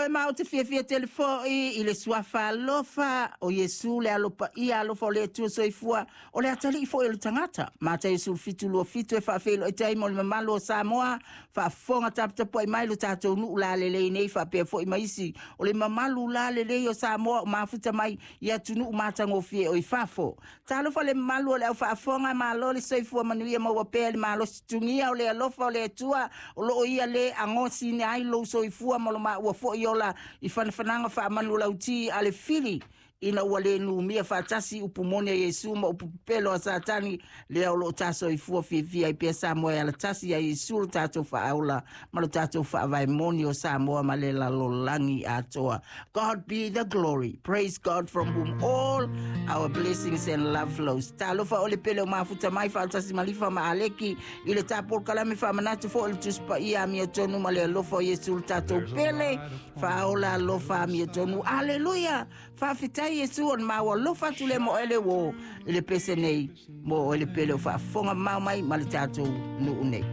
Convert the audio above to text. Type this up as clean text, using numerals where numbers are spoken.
Ioe ma ou te fiafia tele foʻi i le suafa alofa o Iesu, le alo paia alofa o le Atua soifua, o le atalii foi o le tagata. Mataio 17:27 e faafeiloai ai mo le mamalu o Samoa faafofoga taputapuai mai, lo tatou nuu lalelei nei, faapea foi ma isi o le mamalu lalelei o Samoa o mafuta mai i atunuu matagofie o i fafo. Talofa le mamalu o le au faafofoga, malo le soifua manuia, maua pea le malosi tugia o le alofa o le Atua o loo ia le agosina ai lou soifua ma lo maua foi ola i fanafanaga faamanulauti a le fili, ina ua le numia faatasi upu moni a Iesu ma upu pepelo a Satani, lea o loo tasoifua fiafia ai pea Samoa e alatasi ai Iesu lo tatou faaola ma lo tatou faavae moni o Samoa ma le lalolagi atoa. God be the glory. Praise God, from whom all our blessings and love flows. Talofa o le pele o mafuta mai faatasi malifa ma aleki i le tapolokalame faamanatu foi o le Tusi Paia Amiotonu ma le alofa o Iesu lo tatou pele faaola alofa amiotonu. Aleluia! Faafetai Iesu o le maua alofa atu le mo ele wo i le pese nei mo o le pele o faafofoga mau mai ma le tatou nuu nei.